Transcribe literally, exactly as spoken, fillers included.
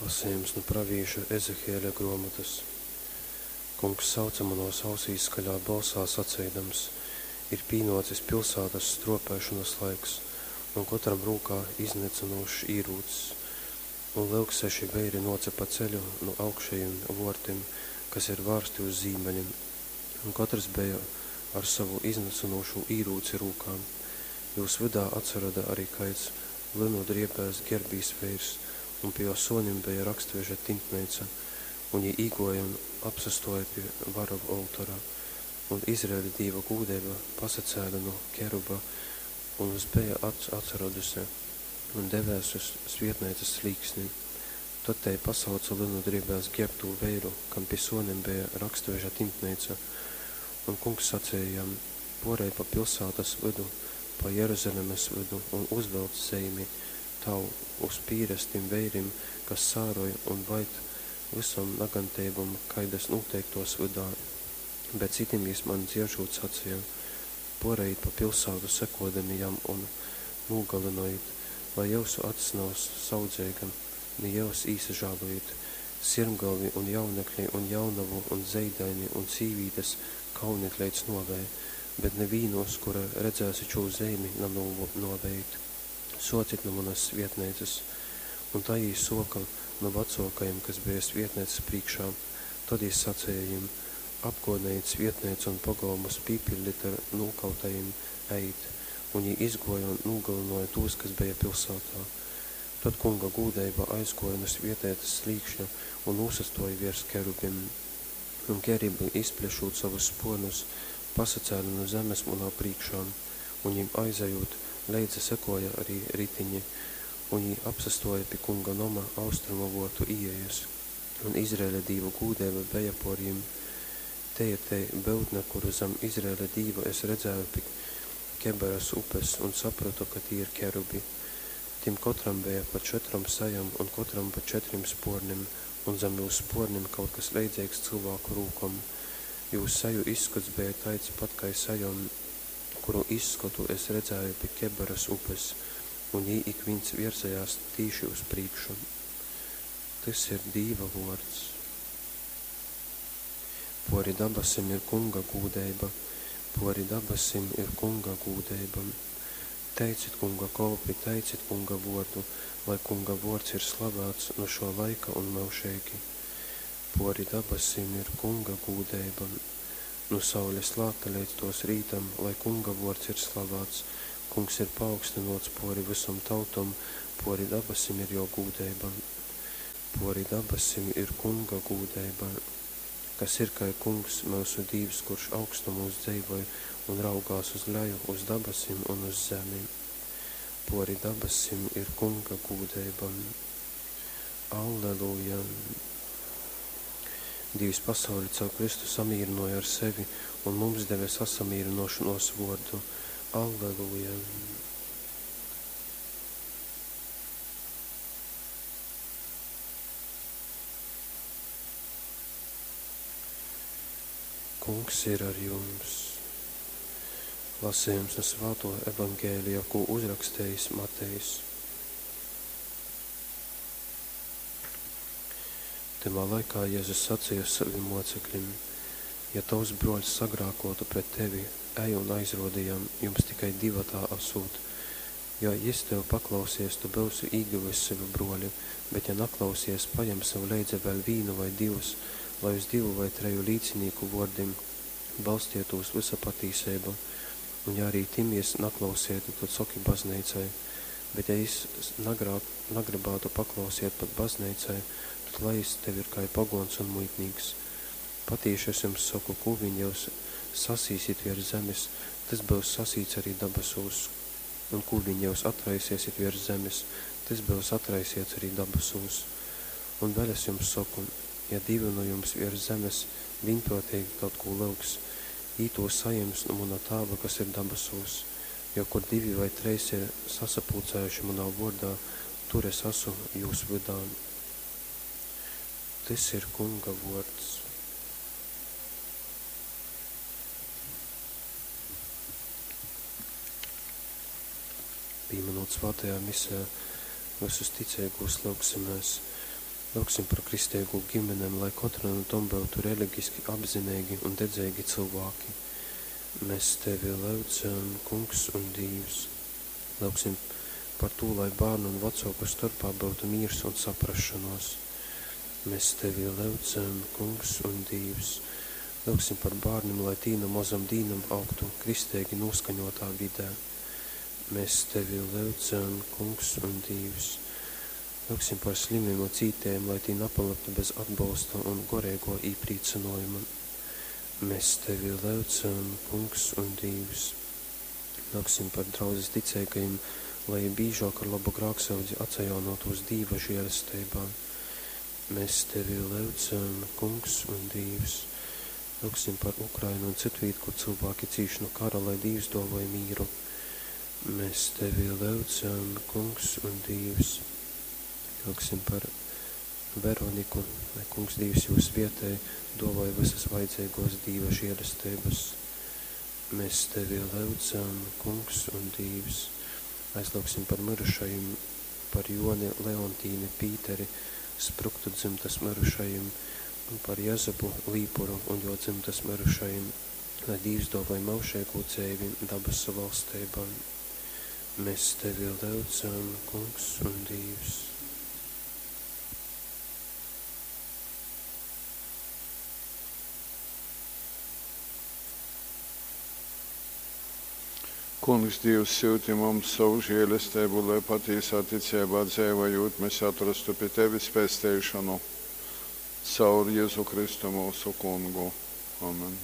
Lasejums nu pravīša Ezehieļa gruomotys. Kungs sauce munuos ausīs skaļā bolsā saceidams: Ir pīnuocis pilsātas struopēšonas laiks, un kotram rūkā iznycynūšs īrūcs. Un, lyuk, seši veiri nuoce pa ceļu nu augšejim vuortim, kas ir vārsti uz zīmeļim, un kotrs beja ar sovu iznycynūšū īrūci rūkā. Jūs vydā atsaroda ari kaids lynu driebēs gerbīs veirs, un pi jō sōnim beja rakstveža tintneica, un jī īgōja un apsastōja pi vara oltora. Un Izraeļa Dīva gūdeiba pasacēle nu keruba un uz beja atsaroduse, un devēs uz svietneicas slīksni. Tod tei pasauce lynu driebēs gierbtū veiru, kam pi sōnim beja rakstveža tintneica, un Kungs saceja jam: Pōrej pa pilsātas vydu, pa Jeruzalemes vydu un uzvelc zeimi, tau, uz pīres tim veirim, kas sāroj un vaid vysom naganteibom, kaidas nūteik tōs vydā. Bet citim jys maņ dzieržūt saceja: Pōrejit pa pilsātu sekōdami jam un nūgalynojit, lai jyusu acs nav saudzeiga, ni jyus īsažālojit. Sirmgalvi un jaunekli un jaunovu un zeidaini un sīvītes kaunit leidz nōvei, bet nivīnu, uz kura redzēsit šū zeimi, nanūnōvejit. Sōcit nu munas svietneicas. Un tai jī sōka nu vacōkajim, kas beja svietneicas prīškā. Tod jys saceja jim: Apgōdnejit svietneicu un pogolmus pīpiļdit ar nūkautajim, ejit! Un jī izgōja un nūgalynōja tūs, kas beja pilsātā. Tod Kunga gūdeiba aizgōja nu svietneicas slīkšņa un nūsastōja viers kerubim. Un kerubi, izplešūt sovus spōrnus, pasacēle nu zemes munā prīškā, un jim aizejūt, leidza sekōja ari ritiņi, un jī apsastōja pi Kunga noma austrumu vōrtu īejas, un Izraeļa Dīva gūdeiba beja pōr jim. Tei ir tei byutne, kuru zam Izraeļa Dīva es redzēju pi Kebaras upes un saprotu, ka tī ir kerubi. Tim kotram beja pa četrom sejom un kotram pa četrim spōrnim, un zam jūs spōrnim kaut kas leidzeigs cylvāku rūkom. Jūs seju izskots beja taids pat kai sejom, kuru izskotu es redzēju pi Kebaras upes, un jī ikvīns vierzejās tīši uz prīšku. Tys ir Dīva vōrds. Pōri dabasim ir Kunga gūdeiba, pōri dabasim ir Kunga gūdeiba. Teicit Kunga kolpi, teicit Kunga vōrdu, lai Kunga vōrds ir slavēts nu šō laika un myužeigi. Pōri dabasim ir Kunga gūdeiba. Nu saules lākta leidz tōs rītam, lai Kunga vōrds ir slavāts. Kungs ir paaugstynōts pōri vysom tautom, pōri dabasim ir jō gūdeiba. Pōri dabasim ir Kunga gūdeiba. Kas ir kai Kungs, myusu Dīvs, kurš augstumūs dzeivoj un raugās uz leju, uz dabasim un uz zemi. Pōri dabasim ir Kunga gūdeiba. Alleluja! Dīvs pasauli caur Kristu samīrynōja ar sevi un mums deve sasamīrynōšonōs vōrdu. Alleluja! Kungs ir ar jums! Lasejums nu Svātō Evangelija, kū uzrakstejis Matejs. Tymā laikā Jezus saceja sovim mōceklim: Ja tovs brōļs sagrākōtu pret tevi, ej un aizrōdi jam, jums tikai divatā asūt. Jo jys tev paklausies, tu byusi īgyvis sev brōli, bet ja naklausies, pajem sev leidza vēļ vīnu vai divus, lai uz divu vai treju līcinīku vōrdim balstietūs vysa patīseiba. Un ja arī tim jys naklausietu, tad soki bazneicai. Bet ja jys nagrā, nagrybātu paklausiet pat bazneicai, tad lai jys tev ir kai pogōns un muitnīks. Patīši es jums soku, kū vīn jyus sasīsit viers zemes, tys byus sasīts arī dabasūs, un kū vīn jyus atraisiesit viers zemes, tys byus atraisiets arī dabasūs. Un vēļ es jums soku, ja divi nu jums viers zemes vīnprōteigi kaut kū lyugs, jī tū sajims nu muna Tāva, kas ir dabasūs. Jo kur divi vai treis ir sasapulcējuši munā vōrdā, tur es asu jūs vydā. Tys ir Kunga vōrds. Pīminūt svātajā misē vysus ticeigūs, lyugsimēs. Lyugsim par kristeigū gimenem, lai kotra nu tom byutu religiski apzineigi un dedzeigi cylvāki. Mēs Tevi lyudzam, Kungs un Dīvs. Lyugsim par tū, lai bārnu un vecōku storpā byutu mīrs un saprasšonōs. Mēs Tevi lyudzam, Kungs un Dīvs. Lyugsim par bārnim, lai tī nu mozom dīnom augtu kristeigi nūskaņotā vidē. Mēs Tevi lyudzam, Kungs un Dīvs. Lyugsim par slimim un cītējim, lai tī napalyktu bez atbolsta un goreigō īprīcynōjuma. Mēs Tevi lyudzam, Kungs un Dīvs. Lyugsim par draudzes ticeigajim, lai jī bīžōk ar lobu grāksyudzi atsajaunōtūs Dīva žēlesteibā. Mēs Tevi lyudzam, Kungs un Dīvs. Lyugsim par Ukrainu un citvīt, kur cilvēki cīš nu kara, lai Dīvs dōvoj mīru. Mēs Tevi lyudzam, Kungs un Dīvs. Lyugsim par Veroniku, lai Kungs Dīvs jū svietej, dōvoj visas vajadzeigōs Dīva žēlesteibas. Mēs Tevi lyudzam, Kungs un Dīvs. Aizlyugsim par mirušajim, par Joni, Leontīni, Pīteri, Spruktu dzimtas mirušajim, un par Jezupu Līpuru un jo dzimtas mirušajim, lai Dīvs dōvoj myužeigū dzeivi dabasu valsteibā. Mēs Tevi lyudzam, Kungs un Dīvs. Kungs Dīvs, syuti mums sovu žēlesteibu, lai patīsā ticeibā dzeivojūt mes atrostu pi tevis pesteišonu. Caur Jezu Kristu myusu Kungu. Amen.